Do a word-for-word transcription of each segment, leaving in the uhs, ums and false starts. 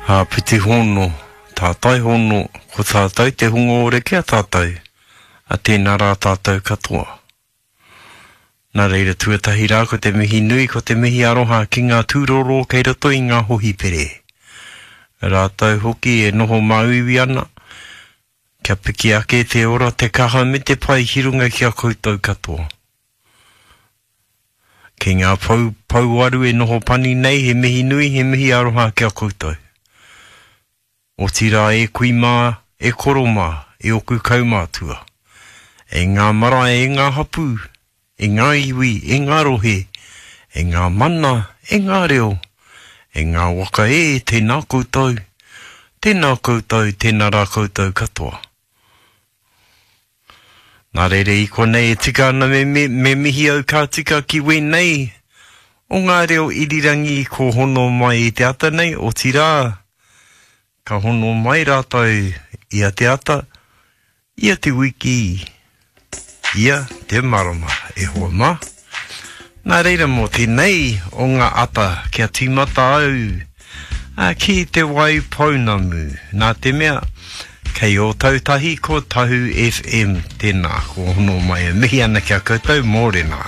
Āpiti hono, tātai hono, ko tātou te hunga ore ki a tātou, a tēnā rā tātou katoa. Nā reira tuatahi rā ko te mihi nui, ko te mihi aroha ki ngā tūroro kei roto i ngā hohipere. Rātou hoki e noho māuiui ana, kia piki ake te ora, te kaha me te pai ki runga ki a koutou katoa. Ki ngā pou, pouaru e noho pani nei, he mihi nui, he mihi aroha ki a koutou. Otirā e kui mā, e koro mā, e oku kaumātua. E ngā marae, e ngā hapū, e ngā iwi, e ngā rohe, e ngā mana, e ngā reo, e ngā waka e, tēnā koutou, tēnā koutou, tēnā rā koutou katoa. Nā reira i konei e tika ana me, me, me mihi au ka tika ki wēnei o ngā reo irirangi ko hono mai i te ata nei, otirā, ka hono mai rātou ia te ata, ia te wiki, ia te marama, e hoa mā. Nā reira mō tēnei o ngā ata kia tīmata au a, ki Te Waipounamu. Nā te mea, kei Ōtautahi ko Tahu F M tēnā, ko hono mai e mihi ana ki a koutou mōrena.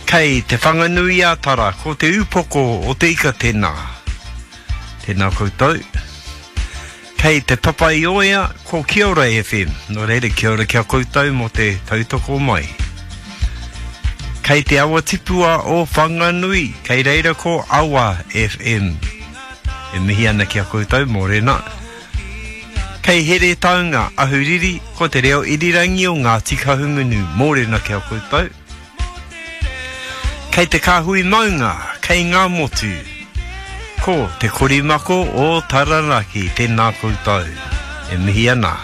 Kei Te Whanganui-a-Tara, ko te upoko o te ika tēnā. Tēnā koutou. Kei Te Papaioea, ko Kia Ora F M. Nō reira, kia ora kia koutou mō te tautoko mai. Kei Te Awa Tipua o Whanganui, kei reira ko Awa F M. E mihi ana ki a koutou, mōrena. Kei Heretaunga, Ahuriri, ko te reo irirangi o Ngāti Kahungunu, mōrena ki a koutou. Kei Te Kāhui Maunga, kei Ngā Motu, ko Te Korimako o Taranaki, tēnā koutou, e mihi ana.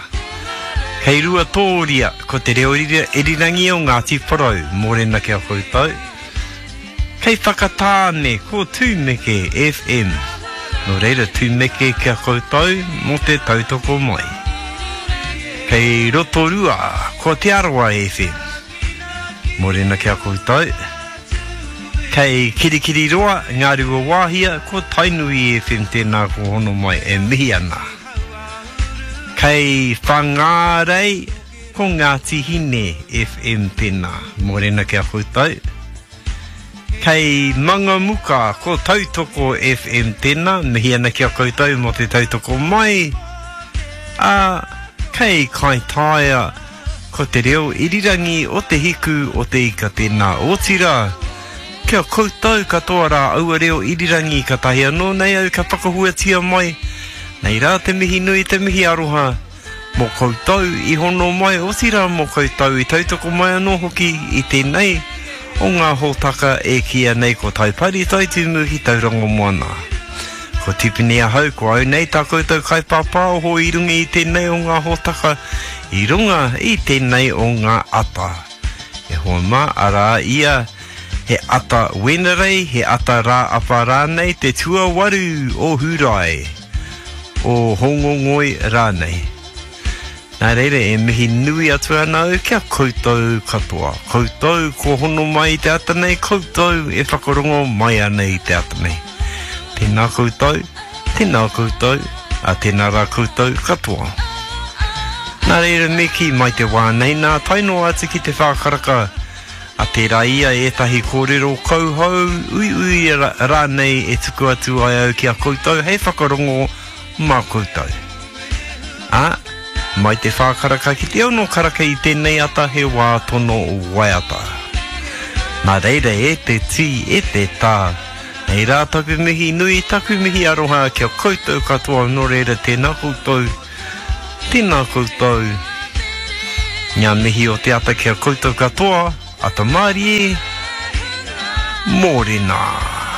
Kei Ruatōria, ko te reo irirangi o Ngāti Porou, mōrena ki a koutou. Kei Whakatāne, ko Tūmeke F M. Nō reira, Tūmeke ki a koutou mō te tautoko mai. Kei Rotorua, ko Te Arawa F M. Mōrena ki a koutou. Kei Kirikiriroa, Ngā Ruawāhia, ko Tainui F M tēnā ko hono mai e mihi ana. Kei Whangārei, ko Ngāti Hine F M tēnā. Mōrena ki a koutou. Kei Mangamuka, ko Tautoko F M tēnā. Mihi ana ki a koutou mō te tautoko mai. Ā, kei Kaitaia, ko te reo irirangi o te hiku o te ika tēnā. Otirā, kia koutou katoa rā aua reo irirangi ka tahi anō nei au ka whakahuatia mai. Nei rā te mihi nui, te mihi aroha mō koutou i hono mai, otirā mō koutou i tautoko mai anō hoki i tēnei o ngā hōtaka e kīia nei ko Taipari Taitumu ki Tauranga Moana. Ko Tipene ahau, ko au nei tā koutou kaipāpāoho i runga i tēnei o ngā hōtaka, i runga i tēnei o ngā ata. E hoa mā, arā ia, he ata Wenerei, he ata rā apa rānei, te tuawaru o Hūrae, o Hongongoi rānei. Nā reira, e mihi nui atu ana au kia koutou katoa. Koutou ko hono mai i te ata nei, koutou e whakarongo mai ana i te ata nei. Tēnā koutou, tēnā koutou, a tēnā rā koutou katoa. Nā reira, me kī mai te wā nei, nā tae noa atu ki te whākaraka a tērā ia ētahi kōrero kauhau uiui rānei e tuku atu ai au ki a koutou hei whakarongo mā koutou. Ā, mai te whākaraka ki te ono karaka i tēnei ata he wā tono waiata. Nā reira e te tī, e te tā, nei rā taku mihi nui, taku mihi aroha kia koutou katoa, nō reira tēnā koutou, tēnā koutou. Ngā mihi o te ata kia koutou katoa, ata mārie, mōrena.